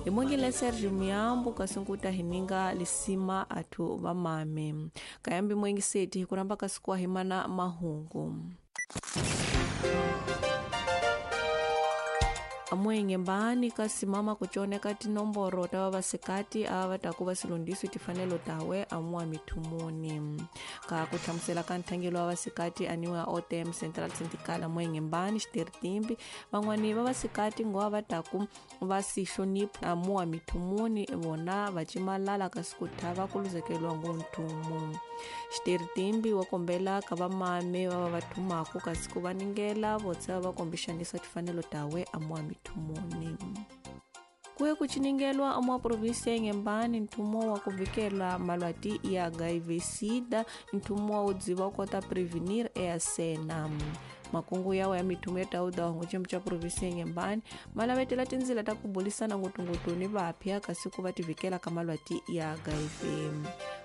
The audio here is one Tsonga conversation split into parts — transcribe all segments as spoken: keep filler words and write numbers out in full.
Hi mongile Sergio Miyambo kasunguta hininga lisima atu vamame. Kayambi mwengi seti hikuramba kasikuwa himana mahungu. Amwenge mbani kasimama kuchoneka tinomboro tawa vasikati ava takuva silundiso tifanelo tawe amwa mithumuni. Ka kuhlamusela ka nthangelo wa vasikati aniwa O T M Central Syndical amwenge mbani xitertimbi van'wani va vasikati ngowa va taku va sihlonipha amwa mithumuni vona va cimalala kasi ku thava ku luzekeliwa ngonthumu. Xitertimbi wa kombela ka vamame va va va thumaku kasi ku va ningela votsa va kombixanisa tifanelo tawe amwa mithumuni. Kuye kuchiningelwa amwa provinsi ya Inhambane nthumo wa kuvikela malwati ya H I V SIDA nthumo wa udziva kota prevenir easena. Makungu yawo ya mithumo ya tauda wangu cha provinsi ya Inhambane malavetela tindzila ta kubulisana ngutungutu ni vapya kasi ku va tivikela ka malwati ya H I V.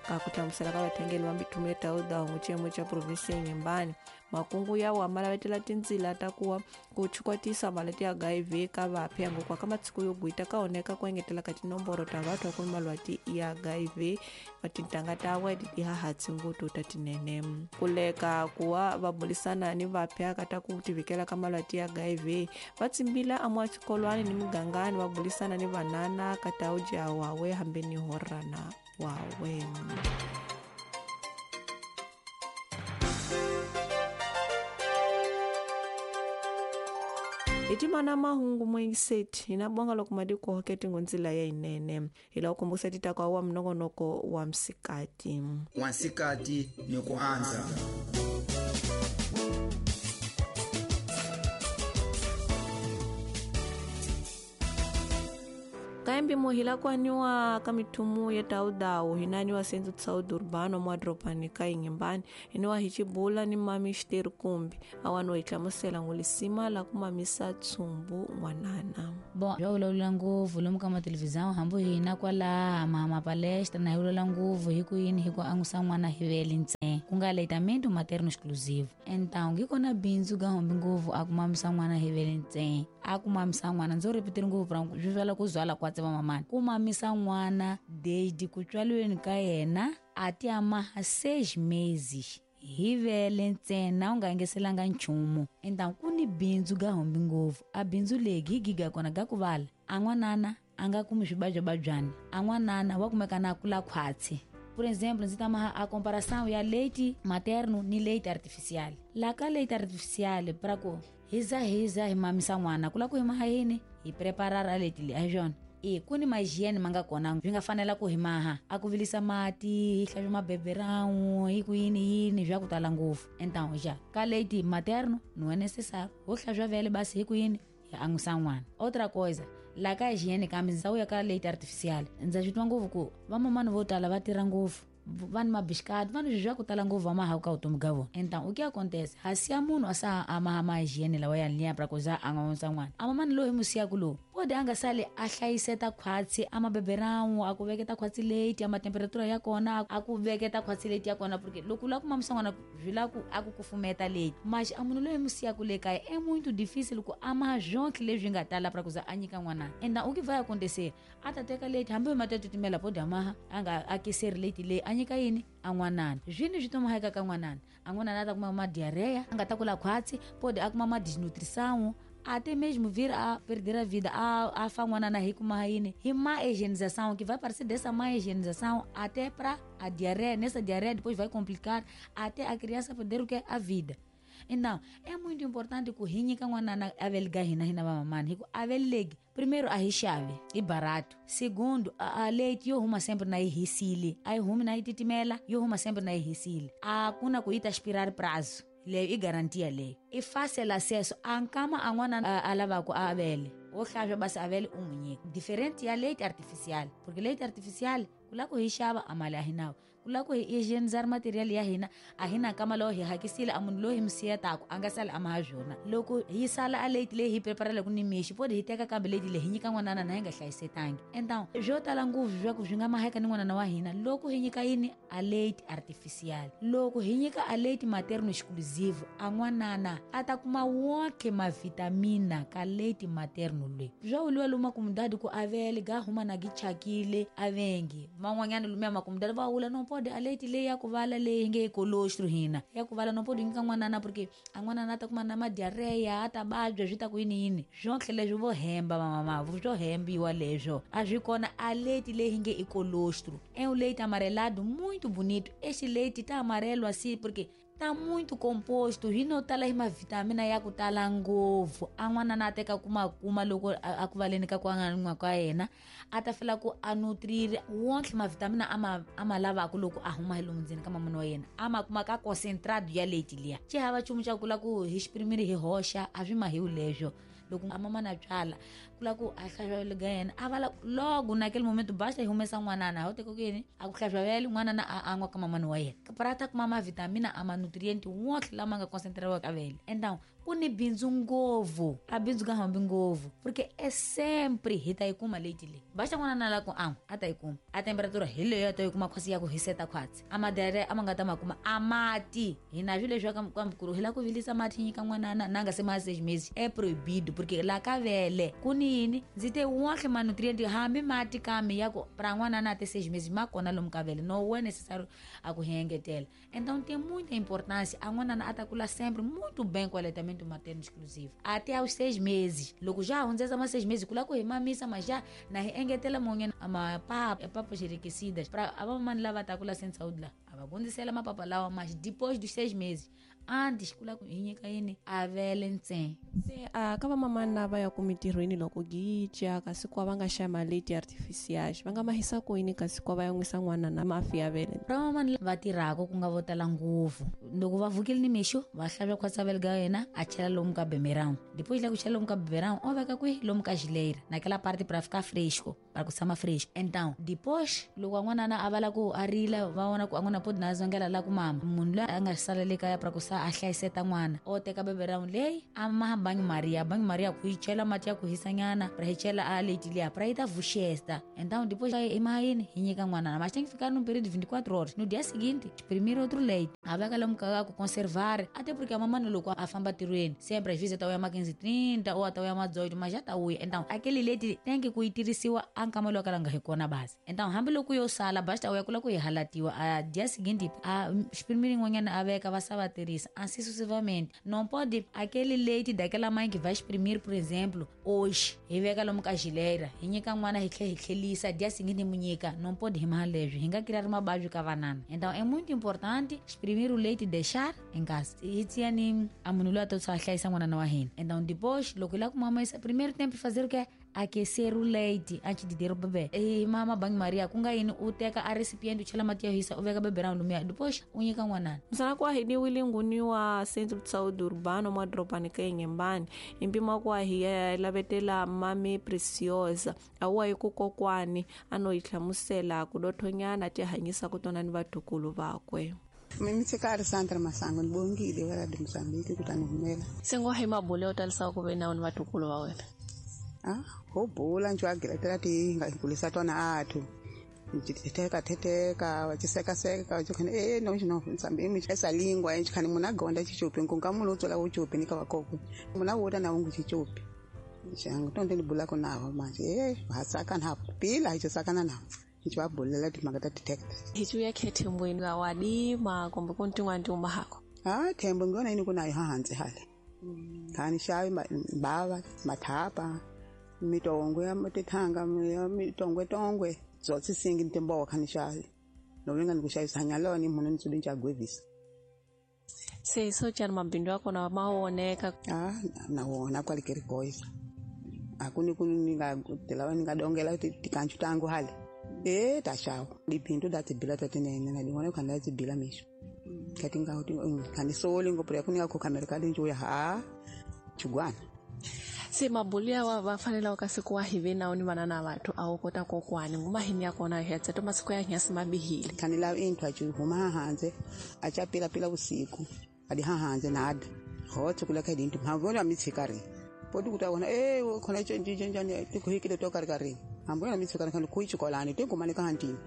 Ka kuhlamusela ka vathengeli va mithumo ya tauda wangu cha provinsi ya Inhambane makungu yawo malavetela tindzila ta kuwa ku chukwatisa malwati ya H I V ka vapya ngokwa ka matsiko yo gwita ka oneka ku engetela ka tinomboro ta vathu va ku malwati ya H I V va tintanga tawe ti hahatsi ngutu ta tinene. Kuleka kuwa va bulisana ni vapya ka ta ku tivikela ka malwati ya H I V va tsimbila amwa xikolwani ni migangani va bulisana ni vanana ka ta uja wawe hambi ni horana wawe. Itimana mahungu mwengiseti inabonga lokumadiko hoketi ngonzila ya inene ila ukumbusa titaka wa mnogonoko wa msikati. Wansikati ni kuanza. Kaembi muhila kwaniwa kamitumu ya taudau hinaniwa senzu tsaudu urbano mwadropani ka Inhambane iniwa hichibula ni mami xiteru kumbi awano ihlamusela ngulisima la kumamisa tsumbu n'wanana. Bon, yo vulavula ngopfu lomu ka mathelevhizão hambi hina kwala mama palestra na hi vulavula ngopfu hi ku yini hi ku angusa n'wana hi vele ntsena ku nga aleitamento materno exclusivo. Então ngi kona bindzu ga hombi ngopfu a ku mamisa n'wana hi vele ntsena a ku mamisa n'wana ndzo repeteri ngopfu ra swi vula ku zwala kwa tseva mamani ku mamisa n'wana desde ku tswaliweni ka yena a ti amaha seis meses hi vele ntsena u nga engeselanga nchumu. Então ku ni bindzu ga hombi ngopfu a bindzu legi hi giga kona ga ku vala a n'wanana a nga kumi swibajababyani a n'wanana wa kumeka na kula khwatsi. Por exemplo, ndzi tama a comparação ya leite materno ni leite artificial. La ka leite artificial para ku hiza hiza hi mamisa n'wana ku la ku hi maha yini hi preparar a leite leyi a hi swona. E ku ni ma-hygiene ma nga kona swi nga fanela ku hi maha a ku vilisa mati hi hlantswa mabeberão hi ku yini yini swa ku tala ngopfu. Então já ka leite materno não é necessário ho hlantswa vele basi hi ku yini hi angusa n'wana. Outra coisa la ka hygiene kambe ndzi ya ka leite artificial ndza swi twa ngopfu ku vamamani vo tala va tirha ngopfu va ni mabixikati va ni swilo swa ku tala ngopfu va mahaku ka vutomi ga vona. Então o que acontece hasi ya munhu a sa a maha ma hygiene lawa ya liya pra ku za a nga onsa n'wana a mamani loyi hi musiyaku lowu pode a nga sali a hlayiseta khwatsi a mabeberão a ku veketa khwatsi leti a matemperatura ya kona a ku veketa khwatsi leti ya kona porque loko u lava ku mamisa n'wana swi lava ku a ku kufumeta leti mas a munhu loyi hi musiyaku le kaya é muito difícil ku a maha swonke leswi nga tala pra ku za a nyika n'wana. Então o que vai acontecer a ta teka leti hambi mati ya titimela pode a maha a nga akiseri leti leyi a nyika yini a n'wanana swini swi tomaheka ka n'wanana a n'wanana a ta kuma ma diarreia a nga ta kula khwatsi pode a kuma ma desnutrição até mesmo vir a perder a vida a, a fa n'wanana hi kuma yini hi má higienização que vai parecer dessa má higienização até pra a diarreia nessa diarreia depois vai complicar até a criança perder o que a vida. Então é muito importante ku hi nyika n'wanana a veliga hina hina vamamani hi ku a velegi primeiro a hi xavi i barato segundo a, a leite yo huma sempre na yi hisile a yi humi na yi titimela yo huma sempre na yi hisile a ku na ku yi ta expirar prazo leyo i garantia leyo i fácil acesso a nkama a n'wana a lavaku a vele wo hlantswa basi a vele u n'wi nyika diferente ya leite artificial porque leite artificial Ku lava ku hi xava a mali a hi nawo. Ku lava ku hi higienizar material ya hina a hi na nkama lowu hi hakisile a munhu loyi hi mi siyetaka a nga sali a maha byona. Loko hi sala a late leyi hi preparela ku ni mixi podi hi teka kambe late leyi hi nyika n'wanana na hi nga hlayisetangi. Então swo tala ngopfu swa ku swi nga maheka ni n'wanana wa hina loko hi nyika yini a late artificial. Loko hi nyika a late materno exclusive a n'wanana a ta kuma wonke mavitamina ka late materno leyi. Swa vuliwa lomu makumudadi ku avele ga huma na gi chakile avengi man'wanyana lumiya makumudadi va vula no pode a late leyi ya ku vala leyi nge colostrum hina ya ku vala no pode nyika n'wanana porque a n'wanana a ta kuma na madiarrhea a ta vabya swi ta ku yini yini swonke leswi vo hemba vamamavu swo hembiwa leswo a swi kona a late leyi nge i colostrum. É um leite amarelado muito bonito. Este leite tá amarelo assim porque tá muito composto hi no tala hi mavitamina ya ku tala ngopfu. A n'wanana a teka kuma kuma loko a ku valeni ka ku an'wa ka yena a ta fela ku a nutrir wonke mavitamina a ma a ma lavaka loko a huma hi lomu ndzeni ka mamana wa yena a ma kuma ka concentrado ya leite liya. Xi hava nchumu xa ku la ku hi xiprimiri hi hoxa a swi mahiwi leswo. Loko a mamana byala ku la ku a hlantswa ga yena a vala logo naquele momento basta hi humesa n'wanana ho teka ku yini a ku hlantswa vele n'wanana a an'wa ka mamana wa yena para ta kuma mavitamina a ma nutriente wonke lama nga concentrado ka vele. Então ku ni bindzu ngopfu a bindzu ka hambi ngopfu porque é sempre hi ta yi kuma leite leyi. Basta n'wanana la ku an'wa a ta yi kuma a temperatura hi leyo a ta yi kuma khosi ya ku hiseta khwatsi a madiarrhea a ma nga ta ma kuma a mati hina swilo leswi ka kamkuru hi la ku vilisa mati nyika n'wanana na nga se ma seis meses é proibido porque la ka vele ku ni yini ndzi te wonke ma nutriente hambi mati kambe ya ku pra n'wanana a te seis meses ma kona lomu ka vele no é necessário a ku hi engetela. Então tem muita importância a n'wanana a ta kula sempre muito bem com o aleitamento materno exclusivo até aos seis meses. Loko já hundzesa ma seis meses kula ku hi mamisa mas já na hi engetela mon'wanyana a mapapa papas enriquecidas pra a vamamani lava ta kula sem saúde lá a va hundzisela mapapa lawa mas depois dos seis meses. Antes kula ku hi nyika yini a vele ntsena. Se a ka vamamani lava ya ku mintirhweni loko gicha kasi kwa va nga xa maleti artificiais va nga mahisa ku yini kasi kwa va ya nwisa n'wana na mafi ya vele. Ra vamamani va tirhaka ku nga vo tala ngopfu loko va vukile ni mixo va hlantswa khwatsa vele ga yena a chela lomu ka bemerão. Depois la ku chela lomu ka bemerão o veka kwihi lomu ka geleira naquela parte para ficar fresco para ku tshama fresco. Então depois loko n'wanana a vala ku a rila va vona ku a n'wana podi na zongela la ku mama munhu loyi a nga sala le kaya para ku sa a hlayiseta n'wana o teka beberão leyi a ma banho maria banho maria ku yi chela mati ya ku hisanyana para hi chela a leite liya para yi ta vuxesta. Então depois i ma yini hi nyika n'wanana mas tem que ficar num período de vinte e quatro horas. No dia seguinte exprimir outro leite a veka lomu ka ku conservar até porque a mamãe loko a famba tirhweni sempre às vezes ta uya ma quinze trinta ou até uya ma dezoito mas já ta uya. Então aquele leite tem que ku yi tirhisiwa a nkama lowu ka la nga hi kona basi. Então hambi loko yo sala basta uya kula ku yi halatiwa a dia seguinte a exprimir n'wannyana a veka va sa va tirhisa assim sucessivamente. Não pode aquele leite daquela mãe que vai exprimir por exemplo hoje hi veka lomu ka geleira hi nyika n'wana hi tlhe hi tlhelisa dia seguinte mu nyika não pode hi maha leswi hi nga criar mabavyo ka vanana. Então é muito importante exprimir o leite e deixar em casa. Hi tiyani a munhu loyi a to a hlayisa n'wanana wa hina. Então depois loko hi lava ku mamisa primeiro tempo fazer o que aquecer o leite antes de dar o bebê. E mama banho maria ku nga yini u teka a recipiente u chela mati ya hisa u veka bebê ra lumiya depois u nyika n'wanana. Msana kwa hi ni wilinguni wa Centro de Saúde Urbano mwa dropani ka Inhambane impima kwa hi ya lavetela mami Preciosa awa yi ku kokwani a no yi hlamusela ku dothonyana ti hanyisa ku tona ni vatukulu vakwe. Mimi tsikari Sandra Masango nibongile wa Radio Mozambique ku ta ni humela. Sengo hi mabule yo talisa ku ve na ni vatukulu va wena. Ah, ho bula njo agilatela ti nga kulisa tona athu. Ntiteka teteka wachiseka seka wachikhani eh no no nsambi imi esa lingwa nchikhani muna gonda chichupi nkunga mulo tsola uchupi nika wakoko. Muna wota na ungu chichupi. Njangu tonde nibula kona manje eh hasaka na pila hichosakana na. Nchiwabulela timaka tatiteka. Hichuya khethembweni wa wadima kumbe kuntingwa hako. Ah thembo ngona ini kunayo hanze hale. Khani shayi baba mathapa mitongwe ya tithanga mitongwe tongwe zotsi singi ntimbowa khani shayi. Novinga nikushayisa nyaloni munhu nitsudi nchagwevisa. Se so chani mabindu akona maoneka. Ah na wona kwalikeri goisa. Akuni kuni ninga ninga dongela tikanchu tangu hale. Eh tashawo dipindu datibila tatinene na dingone khanda tibila misho. Katinga kuti khanisoli ngopura kuninga ko kamera kalinjo ya ha chugwana. Se mabulu ya wa va fanele ka siku wa hive nawo ni vana na vathu a wu kota kokwani nguma hini ya kona hetsa to masiku ya nyasi mabihile khani la inthu a huma hanze a cha pila pila usiku adi hanze nada hotse kula ka dintu mavona mitshikari podi kuta wona eh khona tjenje tjenje tikuhikile to kari kari ambona mitshikari khani kuichikolani tengumane ka hantini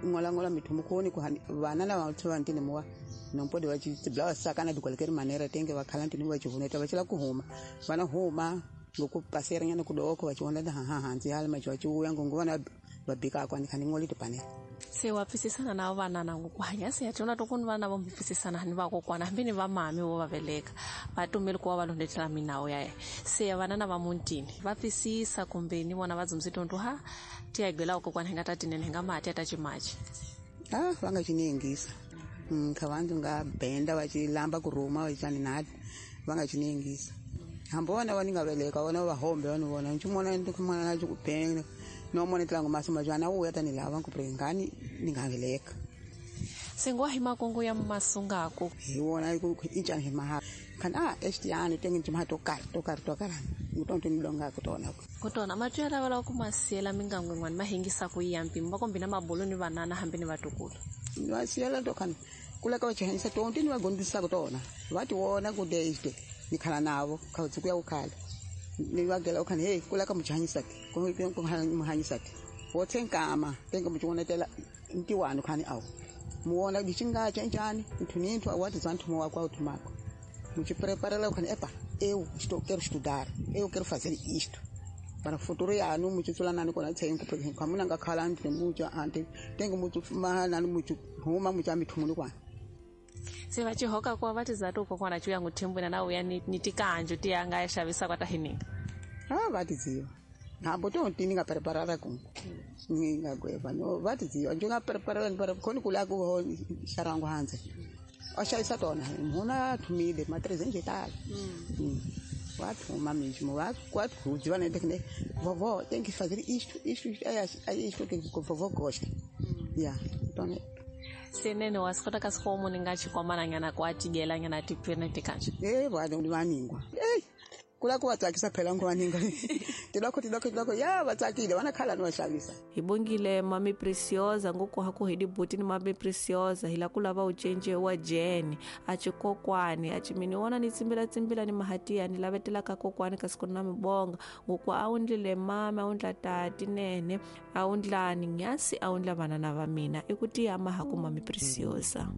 ngola ngola mithumu khoni ku vana lava va ntini muwa nompodi va tiblawa sakana dikwalekeri manera tenge va khala ntini va chivuneta va chila kuhuma vana huma ngoku pasera nyana kudoko va chivona ha ha hanzi hala macho chiuya ngongo vana va bika kwani khani ngoli tipanela se wa pfisisana na vana na ku hanya se ya tona to kun vana va pfisisana ni va kokwana hambi ni va mami vo va veleka va tumeli ku va va londetela minawo ya ye se vana na va muntini va pfisisa kumbe ni vona va dzumsi tonto ha ti ya gwela kokwana hi nga ta tinene hi nga mati ya ta chimachi ah va nga chinengisa mm kha vantu nga benda va chilamba kuruma va chani nati va nga chinengisa hambona va ni nga veleka vona va hombe va ni vona nchimona ndi kumana na chikupenga no mona tlango masomo jwana uya tani lava ku prengani ni nga veleka sengwa hi makongo ya masungako hi wona ku injani hi maha kan a estiani tengi jima to kar to kar to kar ngutonto ni longa ku tona ku tona matwela vala ku masiyela mingango ngwani mahingisa ku yampi mbakombi na mabolo ni vanana hambi ni vatukulu ni vasiyela to kan kula ka chihanyisa tonto ni vagondisa ku tona va ti wona ku deiste ni khala navo kha ku ya ku khala ni vagela ukhani hey kula ka muchanyisati ku ku muhanyisati wotsenkama tenga muchionetela ntiwani khani awu muona dichinga chanjani nthu awati zanthu mo wakwa uthumako muchipreparela ukhani epa eu estou quero estudar eu quero fazer isto para futuro yanu muchitsula nani kona tsengu porque kamuna ngakhala nthu mucha ante tenga muchu mahana muchu huma mucha mithumuni kwa se va chihoka kwa va tizato kokwana chuya nguthembwena na uya ni, ni tikanjo ti ya nga ya xavisa kwa tahininga ah va tiziva hambo to ntini nga preparara ku ni nga gweva no va tiziva njo nga preparara para khoni kula ku xarango hanze a xavisa tona mhuna thumile ma treze nje tala mm wa thuma mismo wa kwa kudziva ne tekne vovó tem que fazer isto isto é é isto que vovó gosta ya tona senene wa swi kota ka swihomu ni nga chikwamana nyana ku a tigela nyana tipfene tikanje eh va ni vaningwa eh kula ku va tsakisa phela ngo vaninga tiloko tiloko tiloko ya va tsakile vana khala ni va xavisa hi bongile mami Preciosa ngoko ha ku hedi buti ni mami Preciosa hi la ku lava u cence wa Jane a chikokwani a chimini wona ni tsimbila tsimbila ni mahatiya ni lavetela ka kokwani kasi ku na mibonga ngoko a undlile mama a undla tati nene a undlani nyasi a undla vana na va mina i ku tiyama ha ku mami Preciosa.